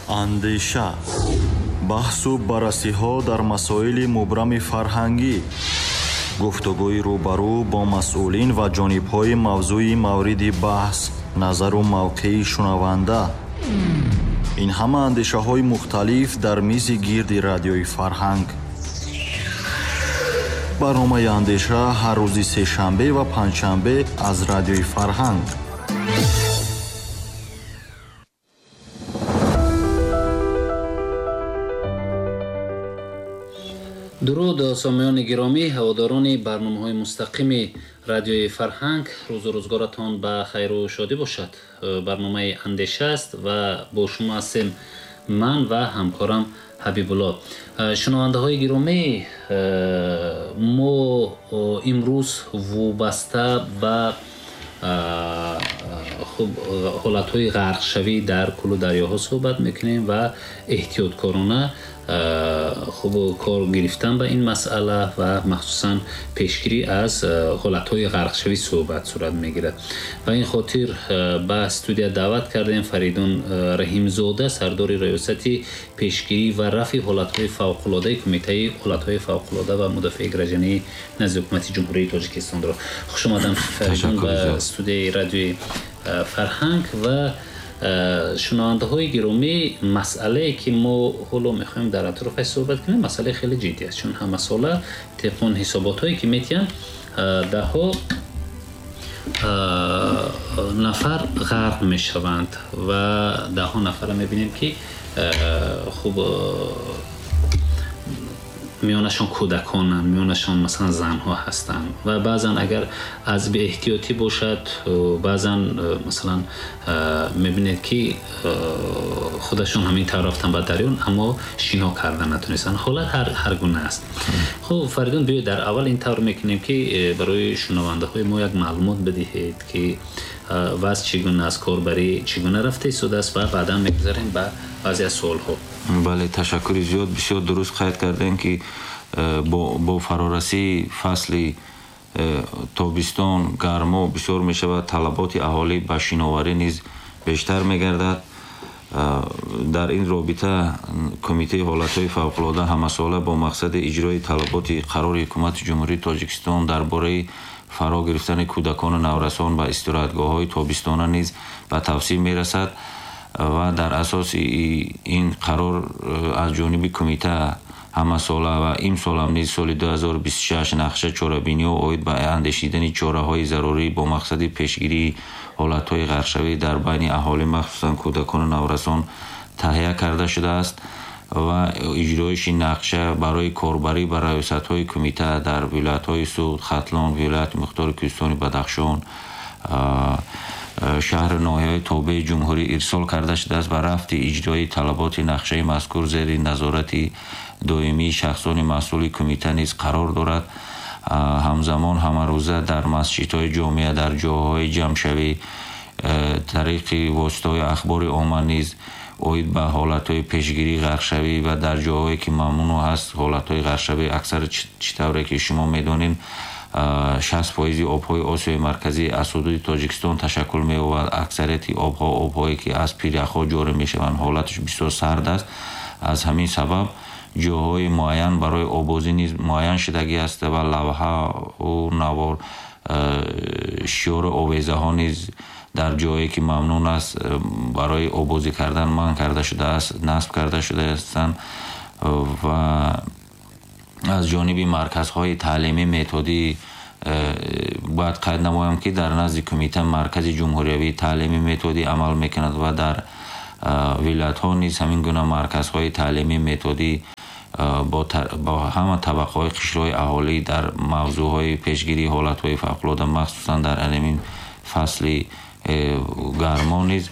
Андеша, баҳсу баррасиҳо дар масоили мубрами фарҳангӣ, гуфтугӯи рӯбарӯ бо масъулин ва ҷонибҳои мавзӯи мавриди баҳс, назару мавқеи шунаванда. Ин ҳама андешаҳои мухталиф дар мизи гирди Радиои Фарҳанг. Барномаи Андеша ҳар рӯзи сешанбе ва панҷшанбе аз Радиои Фарҳанг. Дуруд, сомиёни гиромӣ, ҳаводорони барномаҳои мустақими Радиои Фарҳанг. Рӯзу рӯзгоратон ба хайру шодӣ бошад. Барномаи Андеша аст ва бо шумо ҳастем ман ва ҳамкорам Ҳабибулло. Шунавандаҳои гиромӣ, мо имрӯз вобаста ба хуб ҳолатҳои ғарқшавӣ дар кӯлу дарёҳо суҳбат мекунем ва эҳтиёткорона хуб кор гирифтан ба ин масъала ва махсусан пешгирӣ аз ҳолатҳои ғарқшавӣ суҳбат сурат мегирад. Ба ин хотир ба студия даъват кардем Фаридун Раҳимзода, сардори раёсати пешгирӣ ва рафъи ҳолатҳои фавқулодаи Кумитаи ҳолатҳои фавқулода ва мудофиаи граждании назди Ҳукумати Ҷумҳурии Тоҷикистонро. Хуш омадам, Фаридун, ба студияи Радиои Фарҳанг. Ва шунавандаҳои гиромӣ, масъалае ки мо ҳоло мехоҳем дар атрофаш суҳбат кунем, масъалаи хеле ҷиддӣ аст, чун ҳамасола тибқи он ҳисоботҳое ки метиҳанд, даҳҳо нафар ғарқ мешаванд ва даҳҳо нафарро мебинем ки хуб миёнашон кӯдаконанд, миёнашон масалан занҳо ҳастанд ва баъзан агар аз беэҳтиётӣ бошад, баъзан масалан мебинед ки худашон ҳамин тавр рафтан ба дарён, аммо шино кардан натонистанд. Ҳолат ҳар гуна аст. Хуб, Фаридун, биёед дар аввал ин тавр мекунем ки барои шунавандаҳои мо як маълумот бидиҳед ки вазъ чӣ гуна аст, корбарӣ чӣ гуна рафта истодааст ва баъдан мегузарем ба баъзе аз суолҳо. Бале, ташаккури зиёд. Бисёр дуруст қайд кардем ки бо фарорасии фасли тобистон гармо бисёр мешавад, талаботи аҳолӣ ба шиноварӣ низ бештар мегардад. Дар ин робита Кумитаи ҳолатҳои фавқулода ҳамасола бо мақсади иҷрои талаботи қарори Ҳукумати Ҷумҳурии Тоҷикистон дар бораи фаро гирифтани кӯдакону наврасон ба истироҳатгоҳҳои тобистона низ ба тавсия мерасад ва дар асоси ин қарор аз ҷониби кумита ҳамасола ва имсолам низ соли 2026 нақша чорабиниҳо оид ба андешидани чораҳои зарурӣ бо мақсади пешгирии ҳолатҳои ғарқшавӣ дар байни аҳолӣ, махсусан кӯдакону наврасон, таҳия карда шудааст ва иҷроиши нақша барои корбарӣ ба раёсатҳои кумита дар вилоятҳои Суғд, Хатлон, вилояти Мухтори Кӯҳистони Бадахшон, шаҳру ноҳияҳои тобеи ҷумҳурӣ ирсол карда шудааст ва рафти иҷрои талаботи нақшаи мазкур зери назорати доимии шахсони масъули кумита низ қарор дорад. Ҳамзамон ҳамарӯза дар масҷидҳои ҷомеа, дар ҷойҳои ҷамъшавӣ, тариқи воситаҳои ахбори омма низ оид ба ҳолатҳои пешгирии ғарқшавӣ ва дар ҷойҳое ки мамнӯъ ҳаст ҳолатҳои ғарқшавӣ, аксар чӣ тавре ки шумо медонед, 60% обҳои Осиёи Марказӣ аз ҳудуди Тоҷикистон ташаккул меёбад. Аксарияти обҳо обҳое ки аз пиряхҳо ҷорӣ мешаванд, ҳолаташ бисёр сард аст. Аз ҳамин сабаб ҷойҳои муайян барои оббозӣ низ муайян шудагӣ аст ва лавҳаву навор, шиёру овезаҳо низ дар ҷое ки мамнӯъ аст барои оббозӣ кардан манъ карда шудааст, насб карда шудаастанд ва аз ҷониби марказҳои таълимӣ методӣ бояд қайд намоям ки дар назди кумита маркази ҷумҳуриявии таълимӣ методӣ амал мекунад ва дар вилоятҳо низ ҳамин гуна марказҳои таълимӣ методӣ бо ҳама табақаҳои қишрҳои аҳолӣ дар мавзӯъҳои пешгирии ҳолатҳои фавқулода, махсусан дар ҳамин фасли гармо низ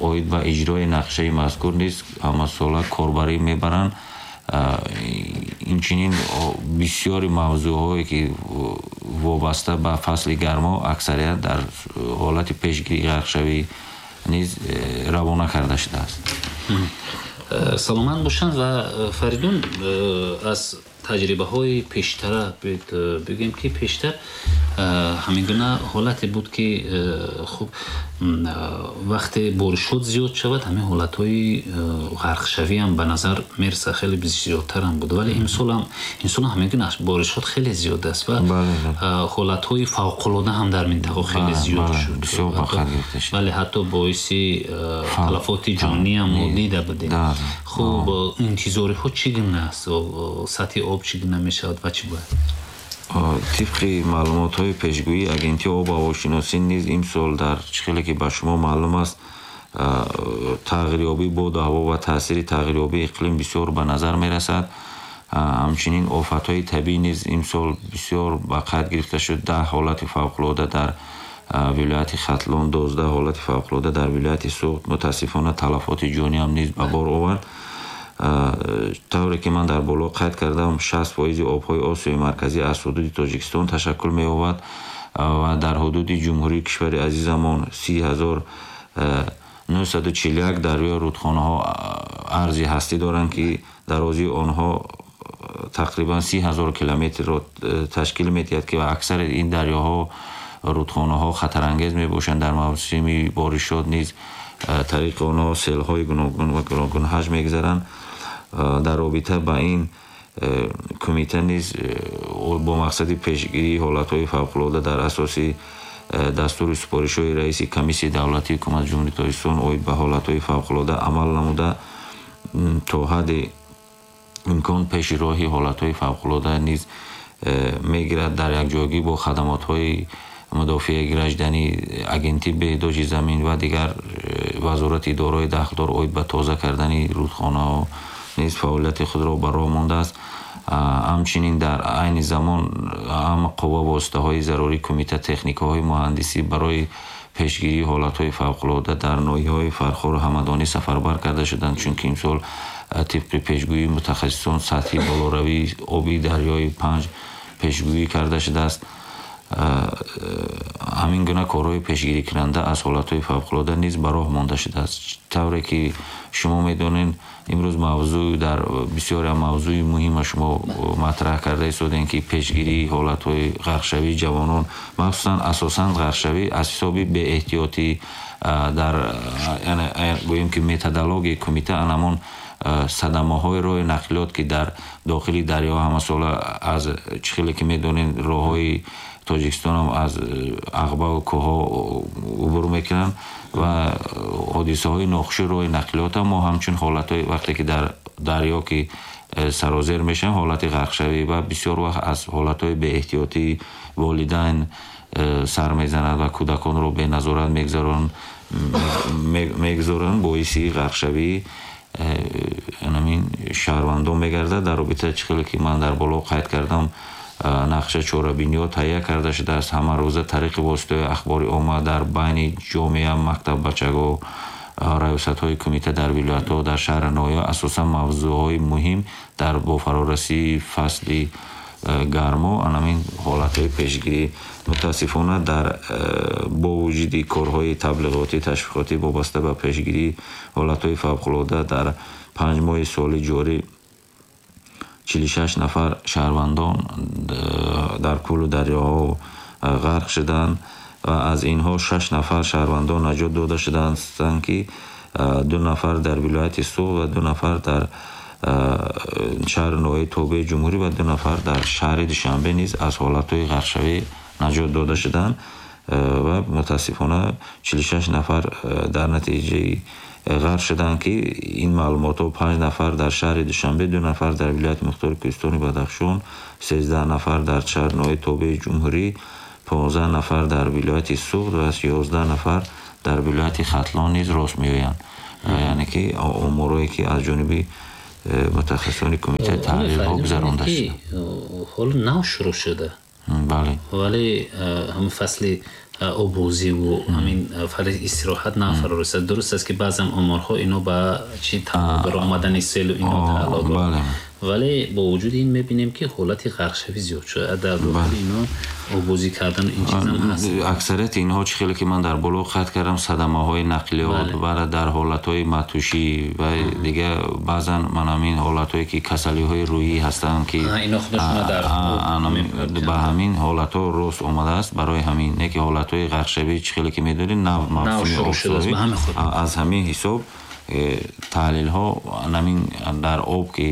оид ба иҷрои нақшаи мазкур низ ҳамасола корбарӣ мебаранд. Инчунин бисёри мавзӯъҳое ки вобаста ба фасли гармо аксарият дар ҳолати пешгирии ғарқшавӣ низ равона карда шудааст. Саломат бошанд. Ва Фаридун, аз таҷрибаҳои пештара бигӯем ки пештар Ҳамин гуна ҳолате буд, ки хуб, вақте боришот зиёд шавад, ҳамин ҳолатҳои ғарқшавӣ ҳам ба назар мерасад, хеле зиёдтарам буд. Вале имсолам ҳамин гуна боришот хеле зиёд аст ва ҳолатҳои фавқулода ҳам дар минтақа хеле зиёд шуд. Бале, ҳатто боиси талафоти ҷонӣ ҳам мо дида будем. Хуб, интизориҳо чӣ гуна аст? Сатҳи об чӣ гуна мешавад ва чӣ бояд? Тибқи маълумотҳои пешгӯии Агентии обу ҳавошиносӣ низ имсол дар чӣ хеле ки ба шумо маълум аст, тағйирёбии боду ҳаво ва таъсири тағйирёбии иқлим бисёр ба назар мерасад. Ҳамчунин офатҳои табиӣ низ имсол бисёр ба қайд гирифта шуд. 10 ҳолати фавқулода дар вилояти Хатлон, 12 ҳолати фавқулода дар вилояти Суғд. Мутаассифона, талафоти ҷонӣ ҳам низ ба бор овард. Тавре ки ман дар боло қайд кардам, 60% обҳои Осиёи Марказӣ аз ҳудуди Тоҷикистон ташаккул меёбад ва дар ҳудуди ҷумҳурии кишвари азизамон 30 941 дарёю рудхонаҳо арзи ҳастӣ доранд, ки дарозии онҳо тақрибан 30 000 километрро ташкил медиҳад, ки аксари ин дарёҳо, рудхонаҳо хатарангез мебошанд. Дар мавсими боришот низ тариқи онҳо селҳои гуногун ва гуногунҳаҷм мегузаранд. Дар робита ба ин кумита низ бо мақсади пешгирии ҳолатҳои фавқулода дар асоси дастуру супоришҳои раиси Комиссияи давлатии Ҳукумати Ҷумҳурии Тоҷикистон оид ба ҳолатҳои фавқулода амал намуда, то ҳадди имкон пеши роҳи ҳолатҳои фавқулода низ мегирад. Дар якҷоягӣ бо хадамотҳои мудофиаи гражданӣ, Агентии беҳдошти замин ва дигар вазорати идораҳои дахлдор оид ба тоза кардани рудхонаҳо низ фаъолияти худро ба роҳ мондааст. Ҳамчунин дар айни замон ҳама қувва, воситаҳои зарурии кумита, техникаҳои муҳандисӣ барои пешгирии ҳолатҳои фавқулода дар ноҳияҳои Фархору Ҳамадонӣ сафарбар карда шуданд, чунки имсол тибқи пешгӯии мутахассисон сатҳи болоравии оби дарёи Панҷ пешгӯӣ карда шудааст. Ҳамин гуна корҳои пешгирикунанда аз ҳолатҳои фавқулода низ ба роҳ монда шудааст. Тавре ки шумо медонед, имрӯз мавзӯъ дар бисёре мавзӯи муҳима шумо матраҳ карда истодем, ки пешгирии ҳолатҳои ғарқшавии ҷавонон, махсусан, асосан ғарқшавӣ аз ҳисоби беэҳтиётӣ. Дар гӯем ки методологияи кумита анамон садамаҳои роҳи нақлиёт, ки дар дохили дарё ҳамасола, аз чӣ хеле ки медонед, роҳҳои Тоҷикистонам аз ағбаву кӯҳҳо убур мекунанд ва ҳодисаҳои нохуши роҳи нақлиёта мо ҳамчун ҳолатҳои вақте ки дар дарё ки сарозер мешаванд, ҳолати ғарқшавӣ ва бисёр вақт аз ҳолатҳои беэҳтиётии волидайн сар мезанад ва кӯдаконро беназорат мегузоранд, боиси ғарқшавии анамин шаҳрвандон мегардад. Дар робита, чӣ хеле ки ман дар боло қайд кардам, нақша, чорабиниҳо таҳия карда шудааст. Ҳамарӯза тариқи воситаҳои ахбори омма дар байни ҷомеа, мактаббачаго, раёсатҳои кумита дар вилоятҳо, дар шаҳру ноҳияҳо асосан мавзӯъҳои муҳим дар бо фарорасии фасли гармо анамин ҳолатҳои пешгирӣ. Мутаассифона, дар бо вуҷуди корҳои таблиғотӣ, ташвиқотӣ вобаста ба пешгирии ҳолатҳои фавқулода, дар 5 моҳи соли ҷорӣ 46 нафар шаҳрвандон дар кӯлу дарёҳо ғарқ шуданд ва аз инҳо шаш нафар шаҳрвандон наҷот дода шудаанд, ки ду нафар дар вилояти Суғд ва ду нафар дар шаҳру ноҳияи тобеи ҷумҳурӣ ва ду нафар дар шаҳри Душанбе низ аз ҳолатҳои ғарқшавӣ наҷот дода шуданд. Ва мутаассифона, 46 нафар дар натиҷаи ғарқ шуданд, ки ин маълумотҳо: панҷ нафар дар шаҳри Душанбе, ду нафар дар вилояти мухтори кӯҳистони Бадахшон, 13 нафар дар шаҳру ноҳияи тобеи ҷумҳурӣ, 15 нафар дар вилояти Суғд ва 11 нафар дар вилояти Хатлон низ рост меоянд, яъне ки оморое ки аз ҷониби мутахассисони кумита таҳлилҳо гузаронда шуда. Ҳоло нав шурӯъ шуда. Бале. Вале ҳамин фасли оббозиву ҳамин фасли истироҳат нав фаро расад. Дуруст аст, ки баъзан оморҳо ино ба чи баромадани селу ино тааллуқ дорад. Вале бо вуҷуди ин мебинем, ки ҳолати ғарқшавӣ зиёд шуда. Дар дохили инҳо обозӣ кардан ин чиз ҳам ҳаст. Аксарияти инҳо, чӣ хеле ки ман дар боло қайд кардам, садамаҳои нақлиёт ва дар ҳолатҳои матӯшӣ ва дигар баъзан ман ҳамин ҳолатҳое ки касалиҳои рӯҳӣ ҳастанд, ки ино худашона дар ба ҳамин ҳолатҳо рост омадааст. Барои ҳамин не ки ҳолатҳои ғарқшавӣ, чӣ хеле ки медонед, нав мавсими обшавӣ, аз ҳамин ҳисоб таҳлилҳо ҳамин дар об ки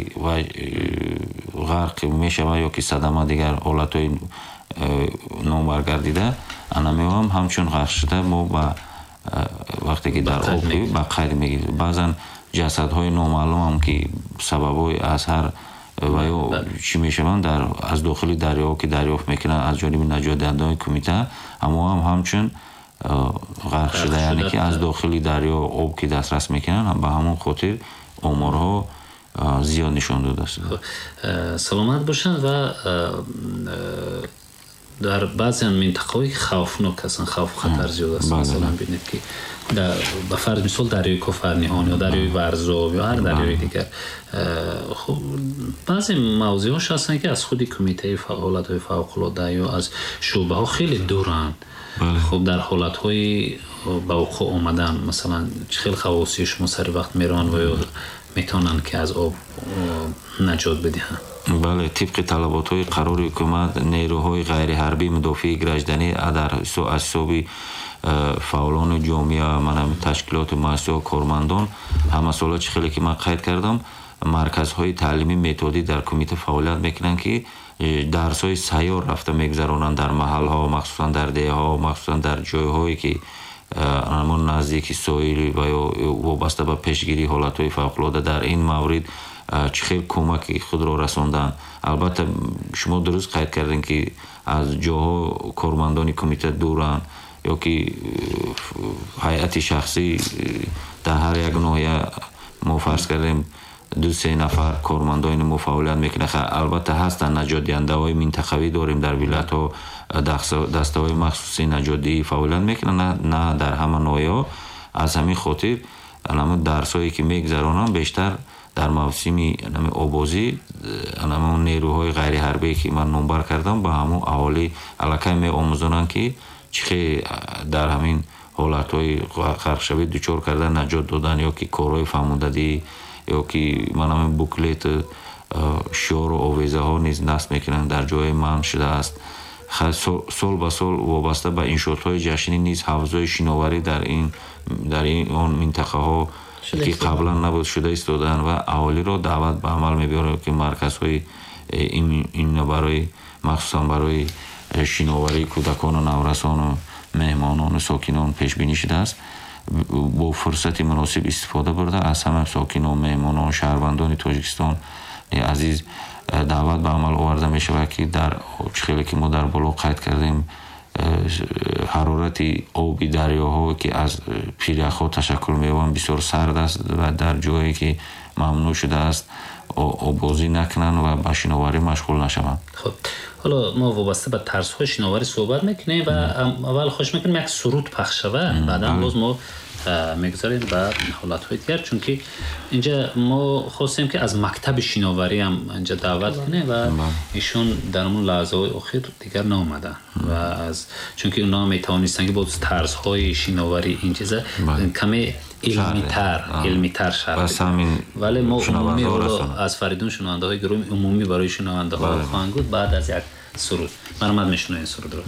ғарқ мешавад ё ки садама, дигар ҳолатҳои номбаргардида, анамеам ҳамчун ғарқ шуда мо ба вақте ки дар об ба қайд мегирем. Баъзан ҷасадҳои номаълумам ки сабабҳои аз ҳар ва ё чӣ мешаванд, дар аз дохили дарёҳо ки дарёфт мекунанд аз ҷониби наҷотдиҳандаҳои кумита, ҳамоам ҳамчун ғарқ шуда, яъне ки аз дохили дарё об ки дастрас мекунанд, ба ҳамон хотир оморҳо зиёд нишон додааст. Саломат бошанд. Ва дар баъзе минтақаҳое ки хавфнок ҳастанд, хавфу хатар зиёд аст, масалан бинед ки ба фарз мисол дарёи Кофарниҳон ё дарёи Варзоб ё ҳар дарёи дигар, хуб, баъзе мавзеъҳош ҳастанд, ки аз худи кумитаи ҳолатҳои фавқулода ё аз шӯъбаҳо хеле дуранд. Хуб, дар ҳолатҳои ба вуқӯъ омадан, масалан, чӣ хел ғаввосии шумо сари вақт мераванд ва ё метавонанд ки аз об наҷот бидиҳанд? Бале, тибқи талаботҳои қарори ҳукумат, нерӯҳои ғайриҳарбии мудофиаи гражданӣ дар аз ҳисоби фаъолони ҷомеа, манам ташкилоту муассисаҳо, кормандон, ҳамасола, чӣ хеле ки ман қайд кардам, марказҳои таълимии методӣ дар кумита фаъолият мекунанд, ки дарсҳои сайёр рафта мегузаронанд дар маҳалҳо, махсусан дар деҳаҳо, махсусан дар ҷойҳое ки ҳамон наздики соҳил ва ё вобаста ба пешгирии ҳолатҳои фавқулода дар ин маврид чӣ хел кӯмаки худро расонданд. Албатта, шумо дуруст қайд кардем, ки аз ҷоҳо кормандони кумита дуранд ё ки ҳайати шахсӣ дар ҳар як ноҳия мо фарз кардем 2-3 нафар кормандони мо фаъолият мекунанд. Албатта, ҳастанд наҷотдиҳандаҳои минтақавӣ дорем дар вилоятҳо, дастаҳои махсуси наҷотдиҳӣ фаъолият мекунанд, на дар ҳама ноҳияҳо. Аз ҳамин хотир ҳамон дарсҳое ки мегузаронанд бештар дар мавсими обозӣ, ҳамон нерӯҳои ғайриҳарбие ки ман номбар кардам, ба ҳамон аҳолӣ аллакай меомӯзонанд, ки чӣ хел дар ҳамин ҳолатҳои ғарқшавӣ дучор кардан, наҷот додан ё ки корҳои фаҳмондадӣ ё ки ман ҳамин буклет, шиору овезаҳо низ насб мекунанд дар ҷои манъ шудааст. Сол ба сол вобаста ба иншоотҳои ҷашнӣ низ ҳавзҳои шиноварӣ дар ин он минтақаҳо ки қаблан набуд шуда истодаанд ва аҳолиро даъват ба амал мебиёранд, ки марказҳои ин барои махсусан барои шиноварии кӯдакону наврасону меҳмонону сокинон пешбинӣ шудааст, бо фурсати муносиб истифода бурда, аз ҳама сокинон, меҳмонон, шаҳрвандони Тоҷикистон азиз даъват ба амал оварда мешавад, ки дар чӣ хеле ки мо дар боло қайд кардем, ҳарорати оби дарёҳо, ки аз пиряхҳо ташаккул меёбанд, бисёр сард аст ва дар ҷое ки мамнӯъ шудааст обозӣ накунанд ва ба шиноварӣ машғул нашаванд. Хуб, ҳоло мо вобаста ба тарзҳои шиноварӣ суҳбат мекунем ва аввал хоҳиш мекунем як суруд пахш шавад, баъдан боз мо мегузарем ба ҳолатҳои дигар, чунки инҷа мо хостем ки аз мактаби шиноварӣ ҳам инҷа даъват кунем ва ишон дар он лаҳзаҳои охир дигар наомаданд ва аз чунки онҳо метавонистанд ки боз тарзҳои шиноварӣ ин чиза каме илмитар шарҳ, вале мо умумӣ ҳоло аз Фаридун шунавандаҳои гиромӣ умумӣ барои шунавандаҳо хоҳанд гуфт баъд аз як суруд. Марҳамат, мешунавем сурудро.